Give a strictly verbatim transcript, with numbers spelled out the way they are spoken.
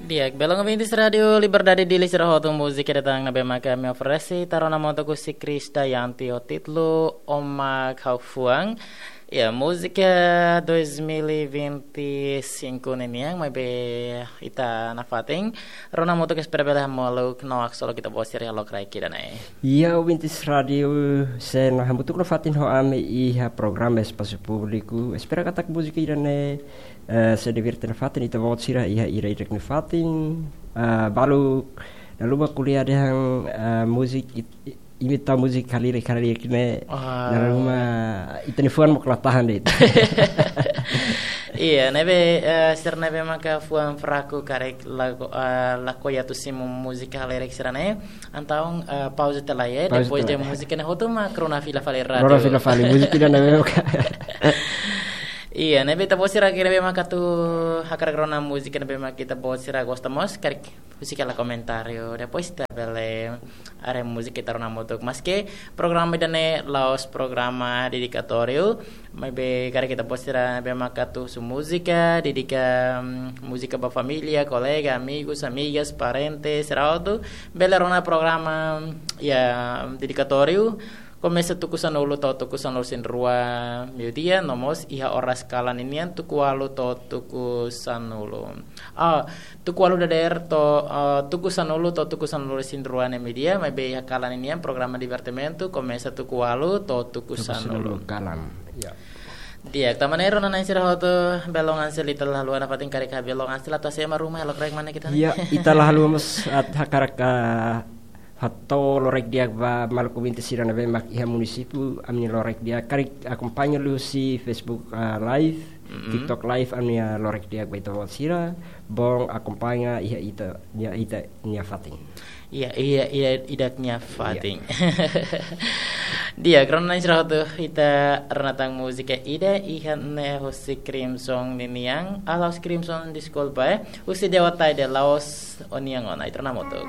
Di'ak, belun ouvintes Rádio Liberdade Dili sira hotu, múzika ida tan ne'ebé maka ami oferese ita rona hamutuk husi Krisdayanti ho títulu Ó Mak Ha'u Fuan. Ya, múzika dois mil e vinte e cinco ninian, maibé ita nafatin rona hamutuk, espera bele hamutuk no aksolok ita-boot sira iha lokraik ida-ne'e. Ya, ouvintes rádiu, sei hamutuk nafatin ho ami iha programa Espasu Públiku. Espera katak múzika ida-ne'e eh, sei divierte nafatin ita-boot sira iha ida-idak nia fatin, eh, balu dala ruma ko'alia dehan, eh, múzika it-, i-, imita múzika halerik-halerik ne'e. Ah. Dala ruma ita-nia fuan mós la tahan de'it. Iya, ne'ebé, eh, sira ne'ebé maka fuan fraku karik lakohi, eh, lakohi atu simu múzika halerik sira-ne'e. Entaun, eh, pauza tiha lai, eh, pauza depois tiha de lai. Múzika ne'e hotu mak rona fila fali rádiu. Rona fila fali, múzika ida-ne'e maka. Iya, ne'ebé ita-boot sira ne'ebé maka atu hakarak rona múzika ne'ebé maka ita-boot sira gosta mós, karik husik hela komentáriu. Depois ita bele haree múzika ita rona hamutuk. Maske programa ida-ne'e la'ós programa dedikatóriu, maibé karik ita-boot sira ne'ebé maka atu husu múzika, dedika, mm, múzika ba família, kolega, amigos, amigas, parente, sira hotu bele rona programa, ya, dedikatóriu. Komesa tuku sanulu to'o tuku sanulu-resin-rua meiudia, no mós iha oras kalan ninian tuku ualu to'o tuku sanulu. Ah, tuku ualu dadeer to'o, ah, tuku sanulu to'o tuku sanulu-resin-rua ne'e meiudia, maibé iha kalan ninian programa divertimentu komesa tuku ualu to'o tuku sanulu. Tuku sanulu kalan. Ya. Di'ak, tanba ne'e rona-na'in sira hotu, belun Ansel, ita la haluha nafatin karik belun Ansel atu hasoru ema ruma iha lokraik ida-ne'e. Ya, ita la haluha mós atu hakarak, ah, hato'o lokraik di'ak ba maluk ouvinte sira ne'ebé mak iha munisípiu ami-nia lokraik di'ak, karik akompaña liuhusi Facebook, ah, Live, Mm-mm. TikTok Live ami-nia lokraik di'ak ba ita-boot sira, bele akompaña iha ita, iha ita-nia fatin. Iya, iya, iya, ida-idak nia fatin. Iya. Di'ak, rona-na'in sira hotu, ita rona tan múzika ida iha ne'e husi Crimson ninian, ah, la'ós Crimson, deskulpa, eh. Husi Dewa Taide, la'ós Ó-nian Ona, ita rona hamutuk.